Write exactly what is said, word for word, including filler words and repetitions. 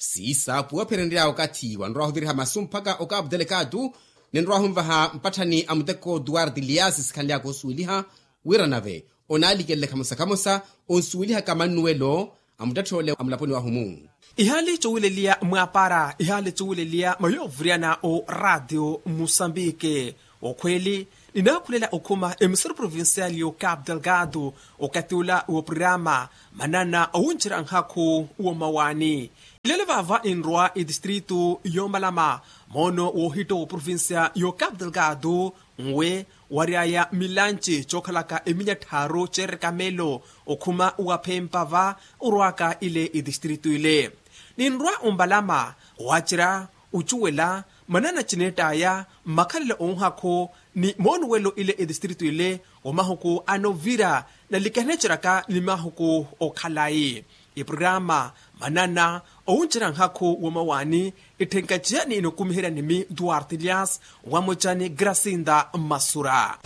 Siisa puwaphererya okathi wanrwahuthiriha masu mpakha okapu telekatu. Ninrwahunvaha mpatthani a muteko duwarti liasi sikhanlyaka osuweliha wira nave onaalikelelekha musa khamusa onsuwelihaka mannuwelo a muttetthole a mulaponi wahu-mu. Ihaali cuwileliya mwaapara ihaali cuwileliya mayoovuriyana o ratio musambiki. Okhweeli, ninaakhulela okhuma emisuru provincial yo capital gado okathi ula wa programa manana owuncerya nhakhu wa mawaani. Ilelo vaava ninrwa etistritu yoomalama moono woohitta wa provincia yo capital gado nwe waryaya milanci cookhalaka eminya tthaaru ceereka meelo okhuma waphempa va orwaka ile etistritu ile. Ninrwa ombalama waacerya ocuwela manana cineett'aya mmakhalelo onhakhu ni moonuwelo ile etistritu ile wa mahuku anovira nalikaneceraka ni mahuku okhalayi. Eprograma manana owuncerya nhakhu wa mawaani itthenkaciya ni inokumiherya nimi duarte lias wamocani grasinda mmasura.